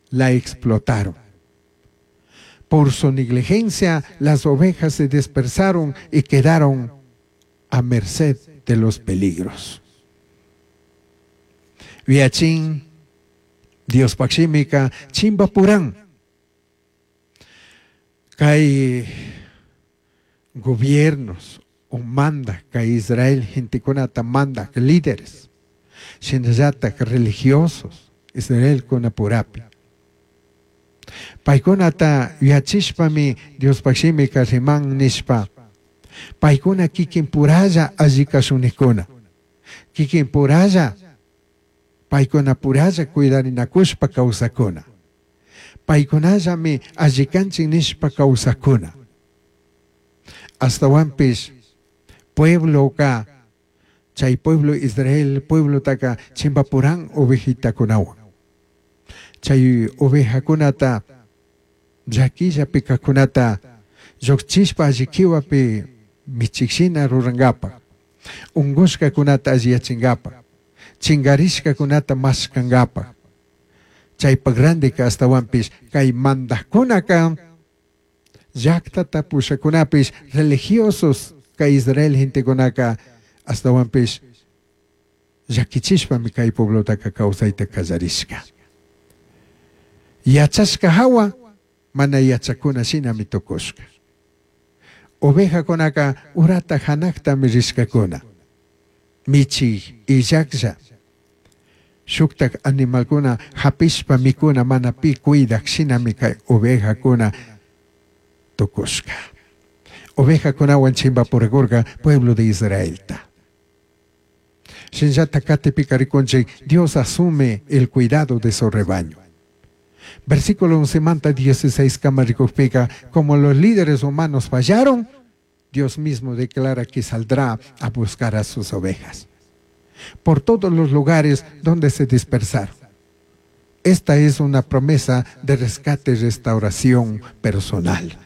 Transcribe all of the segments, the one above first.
La explotaron. Por su negligencia, las ovejas se dispersaron y quedaron a merced de los peligros. Yuyachin, Diospaj shimica chimbapuran. Cai gobiernos o mandaj cai Israel gentecunata mandaj líderes, shinallataj religiosos Israelcunapurapi. Paicunata yuyachishpami Diospaj shimica riman nishpa, paicuna kikin puralla alli cashunijcuna, kikin puralla paicuna puralla cuidarinacushpa causacuna. Paicunallami alli canchij nishpa causacuna. Ashtahuanpish puebloca chai pueblo Israel pueblotaca chimbapuran ovejitacunahuan. Chai ovejacunata llaquillapi cajcunata llujchishpa alli quihuapi michij shina rurangapaj, ungushcacunata alliyachingapaj, chingarishcacunata mashcangapaj. Chaipaj randica ashtahuanpish cai mandajcunaca llajtata pushacunapish religiosos cai Israel gentecunaca ashtahuanpish llaquichishpami cai pueblotaca causaita callarishca. Yachashca jahua mana yachacuna shinami tucushca. Ovejacunaca urata janajtami rishcacuna. Michij illajlla. Shujtaj animalcuna japishpa micuna mana pi cuidaj shinami cai ovejacuna tucushca. Ovejacunahuan chimbapuracurca pueblo de Israelta. Shinallata catipica ricunchij Dios asume el cuidado de su rebaño. Versículo 11 manta 16 cama ricujpica, como los líderes humanos fallaron, Dios mismo declara que saldrá a buscar a sus ovejas por todos los lugares donde se dispersaron. Esta es una promesa de rescate y restauración personal.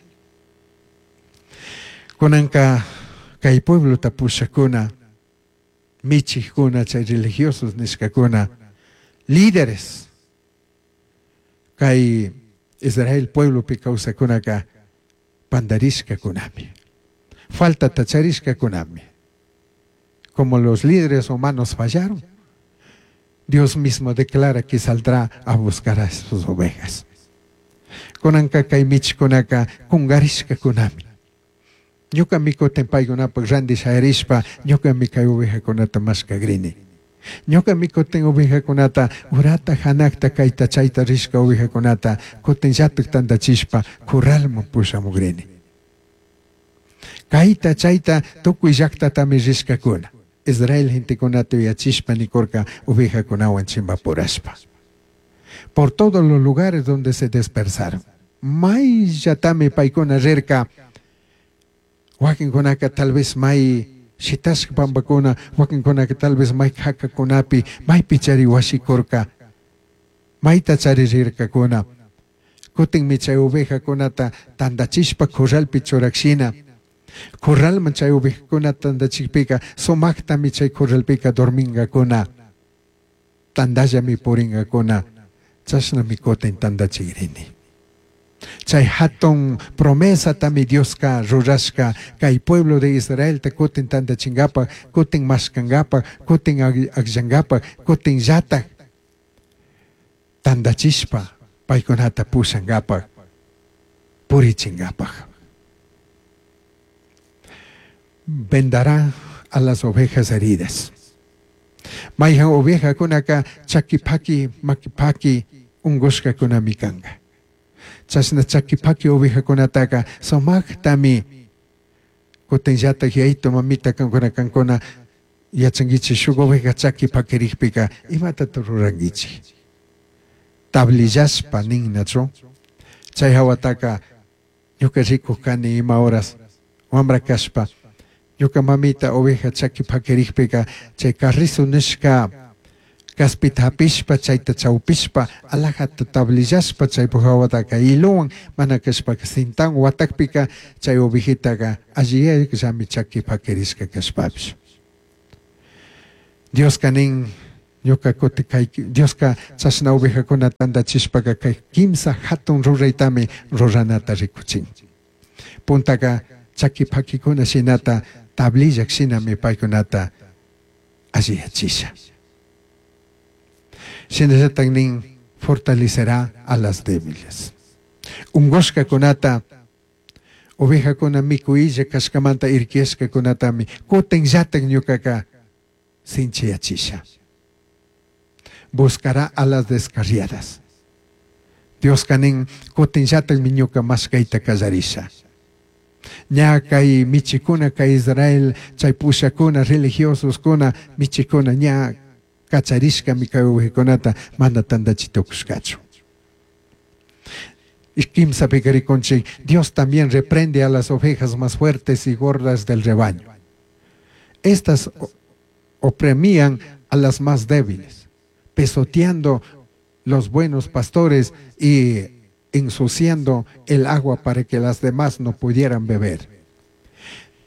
Cunanca cai pueblota pushajcuna, michijcuna, chay religiosos nishcacuna, líderes, cai Israel pueblopi causajcunaca pandarishcacunami, faltata charishcacunami. Como los líderes humanos fallaron, Dios mismo declara que saldrá a buscar a sus ovejas. Cunanca cai michijcunaca cungarishcacunami. Ñucami cutin paicunapaj randi shayarishpa ñucami cai ovejacunata mashcagrini. Ñucami cutin ovejacunata urata janajta caita chaita rishca ovejacunata cutinllataj tandachishpa corralman pushamugrini. Caita chaita tucui llajtatami rishcacuna. Israel gentecunata yuyachishpa nicurca ovejacunahuan chimbapurashpa. Por todos los lugares donde se dispersaron. Maillatami paicuna rirca. Huaquincunaca tal vez mai shitashca pambacuna, huaquincunaca tal vez mai jacacunapi, maipi chari huashicurca, maita chari rircacuna. Cutinmi chay ovejacunata tandachishpa corralpi churajshina. Corralman chay ovejacunata tandachijpica sumajtami chay corralpica dormingacuna. Tandallami puringacuna. Chashnami cutin tandachigrini. Chay jatun promesatami Diosca rurashca cai pueblo de Israelta cutin tandachingapaj, cutin mashcangapaj, cutin agllangapaj, cutin llataj tandachishpa paicunata pushangapaj, purichingapaj. Vendará a las ovejas heridas. Maijan ovejacunaca chaqui paqui, maqui paqui ungushcacunami canga. Chashna chaqui paqui ovejacunataca sumajtami cutinllataj yayito mamita cancuna cancuna yachanguichik shuk oveja chaqui paquirijpica imatata ruranguichik. Tablillashpa ninnachu. Chay hawataka ñuka rikuj kani ima horas wambra kashpa ñuka mamita oveja chaqui paquirijpica chay carrizo nishka caspita hapishpa chayta chawpishpa alajata tablillashpa chaypuk hawataka hilowan mana kashpaka cintawan watakpika chay ovejitaka alliyayllami chaqui paquirishka kashpapish. Dioska nin Ñuka kuti kay Dioska chashna ovejakuna tandachishpaka kay kimsa hatun ruraytami ruranata rikuchin. Puntaka chaki pakikuna shinata tablillak shinami paykunata alliyachisha. Shinallatak nin fortalecerá a las débiles. Ungushkakunata ovejakuna mikuylla kashkamanta irkiyashkakunatami kutinllatak ñukaka sinchiyachisha. Buscará a las descarriadas. Dioska nin kutinllatakmi ñuka mashkayta kallarisha. Ña kay michikuna kay Israel chay pushakuna religiososcuna michikuna ña kacharishkami kay ovejakunata mana tandachi tukushkachu. Y kimsapi rikunchik, Dios también reprende a las ovejas más fuertes y gordas del rebaño. Estas oprimían a las más débiles, pisoteando los buenos pastores y ensuciando el agua para que las demás no pudieran beber.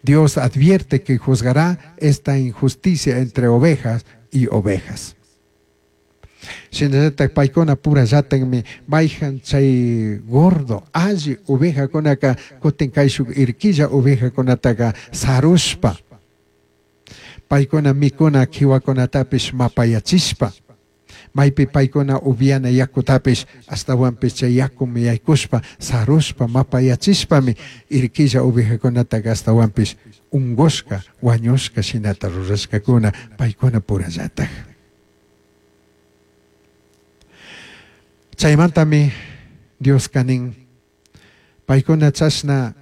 Dios advierte que juzgará esta injusticia entre ovejas y ovejas. Shinallatak paykuna purallatakmi mayhan chay gordo alli ovejakunaka kutin kayshuk irquilla ovejakunataka sarushpa paykuna mikuna kiwakunatapish mapayachishpa maypi paykuna upiana yakutapish ashtawanpish chay yakumi yaykushpa sarushpa mapayachishpami irquilla ovejakunataka ashtawanpish ungushka wañushka shinata rurashkakuna paykuna purallatak. Chaymantami Dioska nin paykuna chashna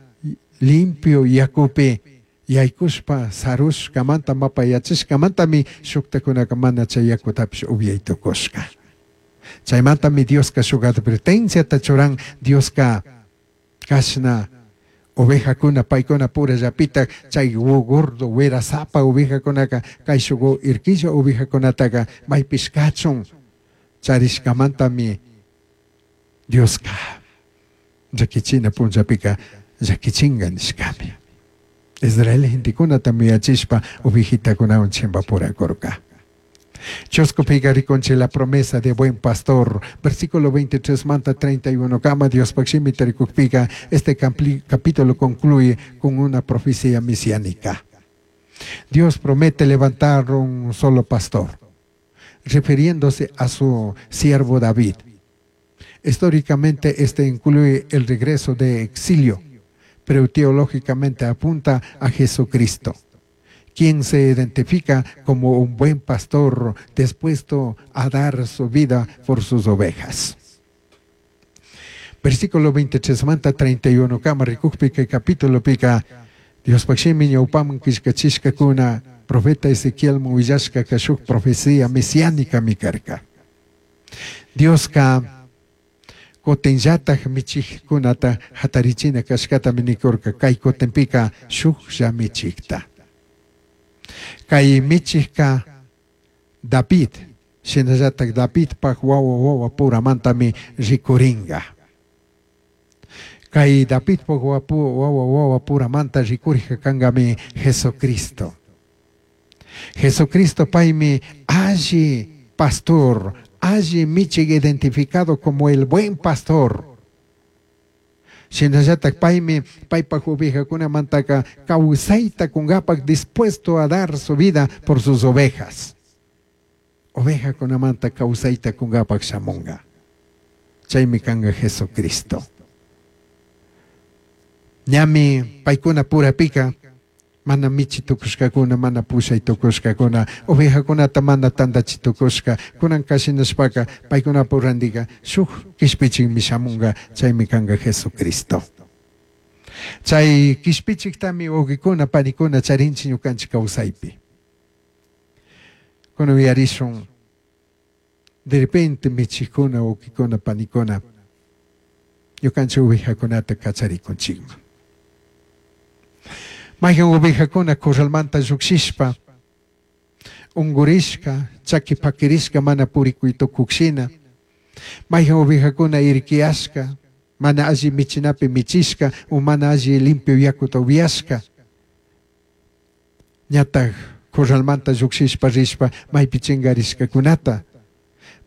limpio yakupi yaykushpa sarushkamanta mapayachishkamantami shuktakunaka mana chay yakutapish upyay tukushka. Chaymantami Dioska shuk advertenciata churan Dioska kashna ovejakuna paykuna purallapitak chay gordo werasapa ovejakunaka kayshuk irquilla ovejakunataka maypish kachun charishkamantami Dioska llakichina punllapika llakichinga nishkami. Israel gentekunata muyachishpa ovejitakunawan chimpapurakurka. Chuskupiqa rikunchik la promesa de buen pastor. Versículo 23 manta 31 kama Diospaj shimita rikukpika este capítulo concluye con una profecía mesiánica. Dios promete levantar un solo pastor, refiriéndose a su siervo David. Históricamente este incluye el regreso de exilio, pero teológicamente apunta a Jesucristo, quien se identifica como un buen pastor dispuesto a dar su vida por sus ovejas. Versículo 23 manta 31 kama rikukpika capítulo pika Diospaj shimi ñawpaman killkachishkakuna profeta Ezequiel willashkaka shuk profecía mesiánica mi karka. Dioska kutinllatak michikkunata hatarichina kashkatami nikurka kay kutinpika shuklla michikta. Kay michikka David, shinallatak Davidpak wawa wawa puramantami rikuringa. Kay Davidpak wawa wawa puramanta rikurija kankami Jesucristo. Jesucristo paymi alli pastor, alli michik identificado como el buen pastor. Shinallatak paymi paypak ovejakunamantaka kawsayta kunkapak dispuesto a dar su vida por sus ovejas. Ovejakunamanta kawsayta kunkapak shamunga. Chaymi kanka Jesucristo. Ñami paykuna purapika mana michi tukushkakuna, mana pushay tukushkakuna, ovejakunata mana tandachi tukushka, kunanka shinashpaka paykuna purandiga shuk kishpichikmi shamunga, chaymi kanka Jesucristo. Chay kishpichiktami wawqikuna, panikuna charinchik ñukanchik kawsaypi. Kunan uyarishun de repente michikuna, wawqikuna, panikuna ñukanchik ovejakunata kacharikunchikman. Mayhan ovejakuna corralmanta llukshishpa ungurishka, chaki pakirishka mana purikuy tukukshina. Mayhan ovejakuna irkiyashka, mana alli michinapi michishka o mana alli limpio yakuta upiashka. Ñatak Corralmanta llujshishpa rishpa maypi chingarishkakunata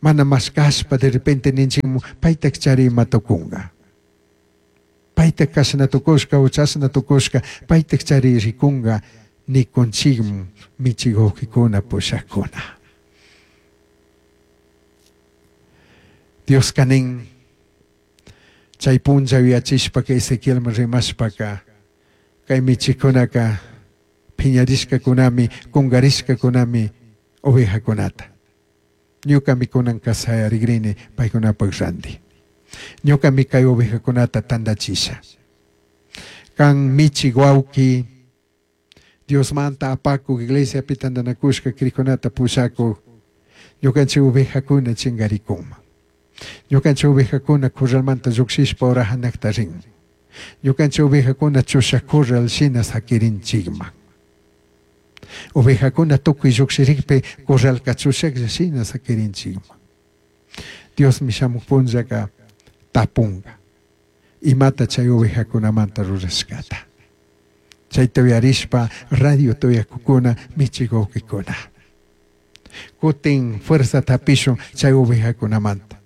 mana mashkashpa de repente ninchikmu paytak chari ima tukunka. Paytak kashna tukushka o chashna tukushka paytak chari rikunka nikunchikmu michik wawkikuna pushakuna. Dioska nin chay punlla yuyachishpaka Ezequielman rimashpaka kay michikkunaka phiñarishkakunami kungarishkakunami ovejakunata. Ñukami kunanka shayarigrini paykunapak ranti. Ñukami kay ovejakunata tandachisha. Kan michik wawki Diosmanta apakuk iglesiapi tandanakushka crikunata pushakuk ñukanchik ovejakuna chingarikunman. Ñukanchik ovejakuna corralmanta llukshishpa ura hanakta rin. Ñukanchik ovejakuna chushak corral shina sakirinchikman. Ovejakuna tukuy llukshirikpi corralka chushaklla shina sakirinchikman. Diosmi shamuk punllaka tapunka. Imata chay ovejakunamanta rurashkata. Chayta uyarishpa radio tuyakukuna michik wawkikuna. Kutin fuerzata hapishun chay ovejakunamanta.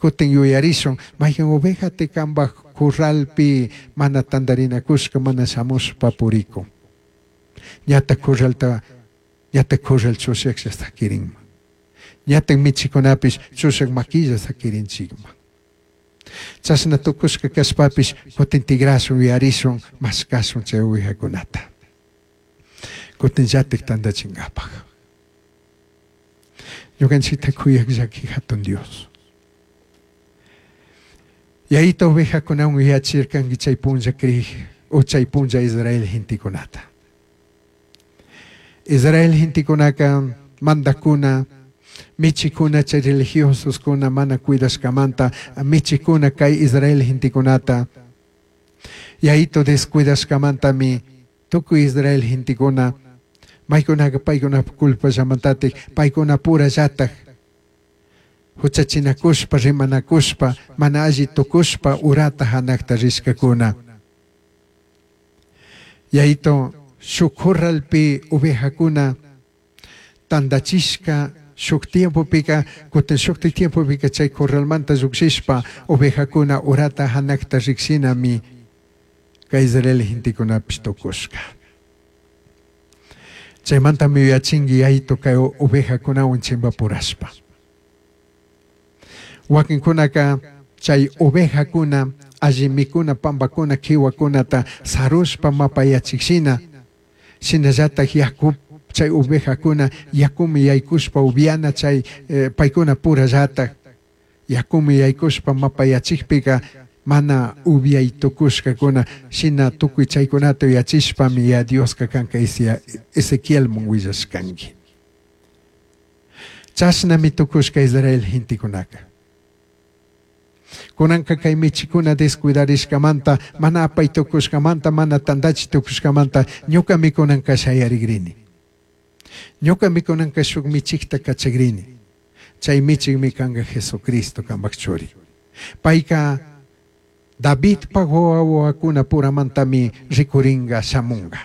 Kutin yuyarishun mayhan ovejati kanpak corralpi mana tandarinakushka mana shamushpa purikun. Ñatak corralta ñatak corral chushaklla sakirinman. Ñatak michikunapish chushak makilla sakirinchikman. Chashna tukushka kashpapish kutin tigrashun yuyarishun mashkashun chay ovejakunata. Kutin llatik tandachinkapak. Ñukanchikta kuyak llaki hatun Dios. Yayita ovejakunawan yuyachirkanki chay punlla krik o chay punlla Israel gentekunata. Israel gentekunaka mandakuna michikuna chay religiososkuna mana cuidashkamanta michikuna kay Israel gentekunata yayito descuidashkamantami tukuy Israel gentekuna maykunaka paykunapa culpallamantatik paykuna purallatak huchachinakushpa rimanakushpa mana alli tukushpa urata hanakta rishkakuna. Yayito shuk corralpi ovejakuna tandachishka shuk tiempopika kutin shukti tiempopika chay corralmanta llukshishpa ovejakuna urata hanakta rikshinami kay Israel gentekunapish tukushka. Chaymantami yuyachinki yayito kay ovejakunawan chimpapurashpa. Wakinkunaka chay ovejakuna alli mikuna pampakuna kiwakunata sarushpa mapayachikshina shinallatak yaku chay ovejakuna yakumi yaykushpa upiana chay paykuna purallatak yakumi yaykushpa mapayachikpika mana upiay tukushkakuna shina tukuy chaykunata yuyachishpami ya Dioska kanka Ezequielman willashkanki. Chashnami tukushka Israel gentekunaka. Kunanka kay michikuna descuidarishkamanta mana apay tukushkamanta mana tandachi tukushkamanta ñukami kunanka shayarigrini. Ñukami kunanka shuk michikta kachagrini. Chay michikmi kanka Jesucristo kanpak churi. Payka Davidpa wawakuna puramantami rikuringa shamunga.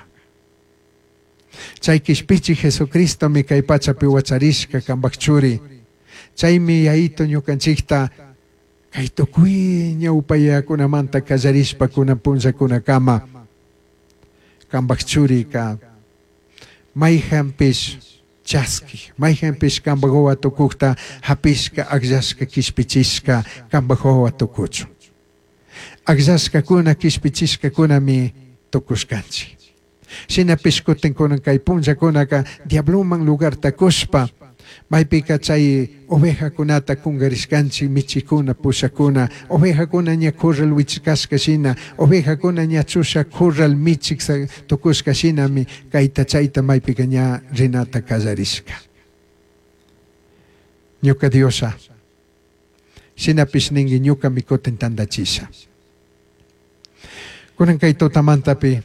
Chay kishpichi Jesucristomi kay pachapi wacharishka kanpak churi. Chaymi yayito ñukanchikta kay tukuy ñawpayakunamanta kallarishpa kunan punllakunakama kanpak churika mayhanpish chaski mayhanpish kanpak wawa tukukta hapishka akllashka kishpichishka kanpak wawa tukuchun. Akllashkakuna kishpichishkakunami tukushkanchik. Shinapish kutin kunan kay punllakunaka diabloman lugarta kushpa maypika chay ovejakunata kungarishkanchik michikuna pushakuna ovejakuna ña corral wichkashka shina ovejakuna ña chusha corral michik tukushka shinami kayta chayta maypika ña rinata kallarishka. Ñuka Diosa shinapish ninki ñukami kutin tandachisha. Kunan kay tutamantapi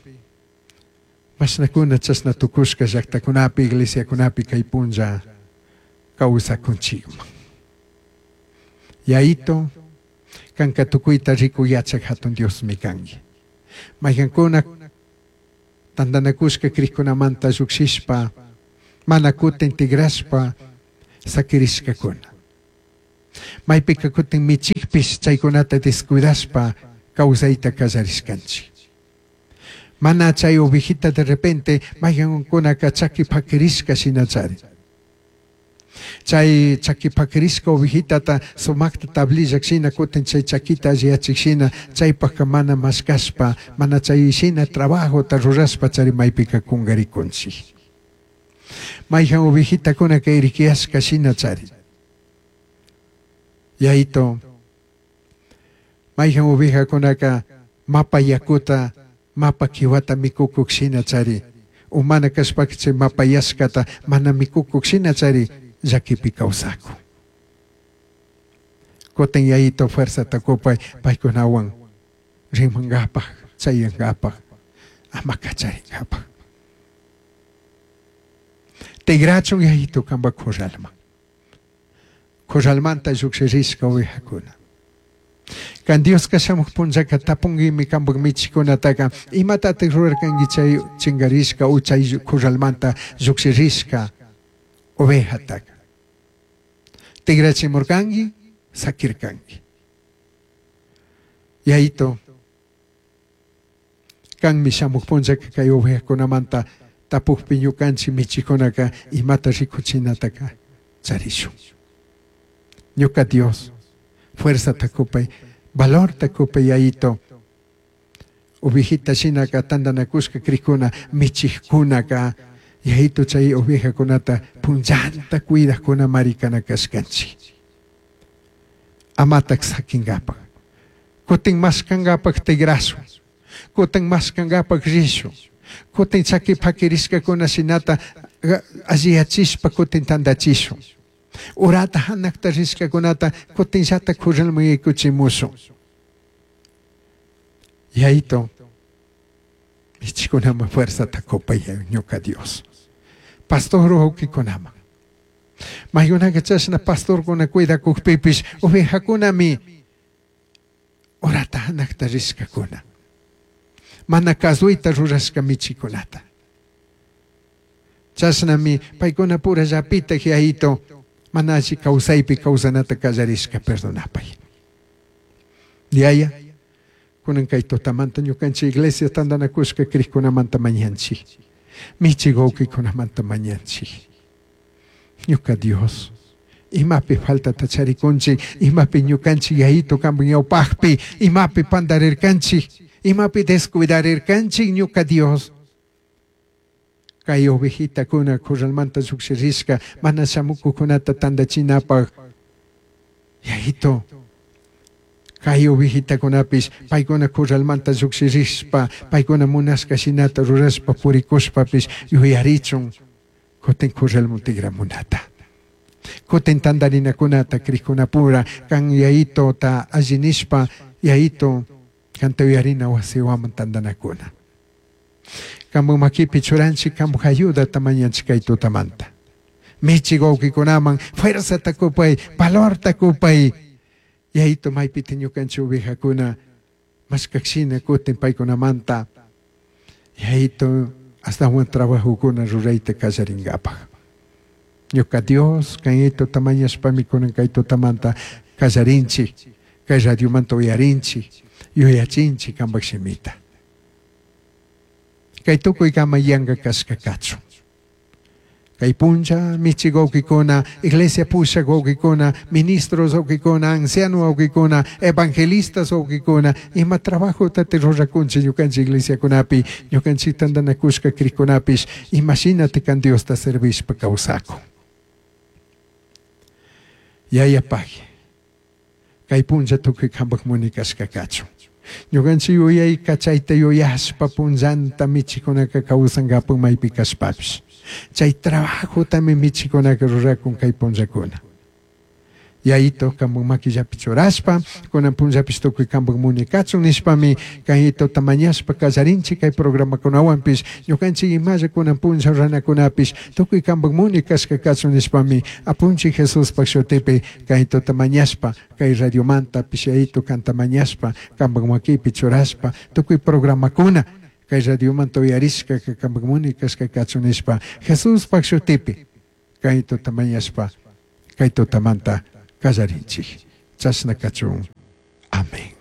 mashnakuna chashna tukushka llaktakunapi iglesiakunapi kay punlla kawsakunchikman. Yayito kanka tukuyta rikuy yachak hatun Diosmi kanki. Mayhankuna tandanakushka krikkunamanta llukshishpa Mana kutin tigrashpa sakirishkakuna. Maypika kutin michikpish chaykunata descuidashpa kawsayta kallarishkanchik. Mana chay ovejita de repente mayqankunaka chaki pakirishka shinachari. Chay chaki pakirishka ovejitata sumakta tablillak shina kutin chay chakita alliyachik shina chaypaka mana mashkashpa mana chay shina trabajota rurashpa chari maypika kunkarikunchik. Mayqan ovejitakunaka irikiyashka shina chari. Yayito, mayqan ovejakunaka mapa yakuta, mapa kiwata mikukuk shina chari. Umana kashpaka chay mapayashkata mana mikukuk shina chari llakipi kawsakun. Kutin yayito fuerzata kupay paykunawan rimankapaq, chayankapaq, ama kacharinkapaq. Tigrachun yayito kanpak corralman. Corralmanta llukshirishka ovejakuna. Kan Dioska shamuq punllaka tapunguimi kanpak michikunataka imatatak rurarkanki chay chinkarishka o chay corralmanta llukshirishka ovejataka. Tigrachimurkanki, sakirkanki. Yayito, kanmi shamuq punllaka kay ovejakunamanta tapukpi ñukanchik michikunaka imata rikuchinataka charishun. Ñuka Dios, fuerzata kupay, valorta kupay yayito. Ovejita shinaka tantanakushka krikuna michikkunaka yayito chay ovejakunata punllanta cuidakuna marikana kashkanchik. Amatak sakinkapak. Kutin mashkankapak tigrashun. Kutin mashkankapak rishun. Kutin chaki pakirishkakuna shinata alliyachishpa kutin tantachishun. Urata hanakta rishkakunata kutin llata corralman yaykuchimushun. Yayito, michikunaman fuerzata kupay ñuka Dios. Pastor wawkikunaman. Maykunaka chashna pastorkuna cuidakukpipish ovejakunami urata hanakta rishkakuna. Mana kasuyta rurashka michikunata. Chashnami paykuna pura llapitak yayito mana alli kawsaypi kawsanata kallarishka perdonapay. Yaya, kunan kay tutamanta ñukanchik iglesia tantanakushka krikkunamanta mañanchik. Michik wawqikunamanta mañanchik. Ñuka Dios, imapi faltata charikunchik, imapi ñukanchik yayito kanpak ñawpaqpi, imapi pandarirkanchik, imapi descuidarirkanchik ñuka Dios. Kay ovejitakuna corralmanta llukshirishka mana shamukukunata tantachinapaq. Yayito, kay ovejitakunapish paykuna corralmanta llukshirishpa, paykuna munashka shinata rurashpa purikushpapish yuyarichun kutin corralman tigramunata. Kutin tantarinakunata krikkunapura kan yayito ta alli nishpa yayito kanta uyarina wasiwaman tantanakuna. Kanpak makipi churanchik kanpak ayudata mañanchik kay tutamanta. Michik wawqikunaman fuerzata kupay, valorta kupay. Yayito maypita ñukanchik ovejakuna mashkakshina kutin paykunamanta yayito astawan trabajokuna rurayta kallarinkapak. Ñuka Dios, kan yayito tamañashpami kunan kay tutamanta kallarinchik, kay radiomanta uyarinchik, yuyachinchik kanpak shimita. Kay tukuykama yanka kashka kachun. Kay puncha michik wawqikuna, iglesia pushak wawqikuna, ministros wawqikuna, anciano wawqikuna, evangelistas wawqikuna, ima trabajota rurakunchik ñukanchik iglesiakunapi, ñukanchik tantanakushka krikunapish, imashinati kan Diosta servishpa kawsakun. Yaya pagui, kay puncha tukuy kanpak muni kashka kachun. Ñukanchik yuyayka chayta yuyashpa punllanta michikunaka kawsankapak maypi kashpapish. Chay trabajotami michikunaka rurakun kay punllakuna. Yayito kanpak makillapi churashpa, kunan punllapish tukuy kanpak muni kachun nishpami kayitota mañashpa kallarinchik kay programakunawanpish, ñukanchik imalla kunan punlla ruranakunapish tukuy kanpak muni kashka kachun nishpami apunchik Jesuspak shutipi kayitota mañashpa, kay radiomantapish yayito kanta mañashpa, kanpak makipi churashpa, tukuy programakuna Kay radiomanta uyarishkaka kampak munay kashka kachun nishpa Jesuspak shutipi kay tuta mañashpa kay tutamanta kallarinchik. Chashna kachun. Amén.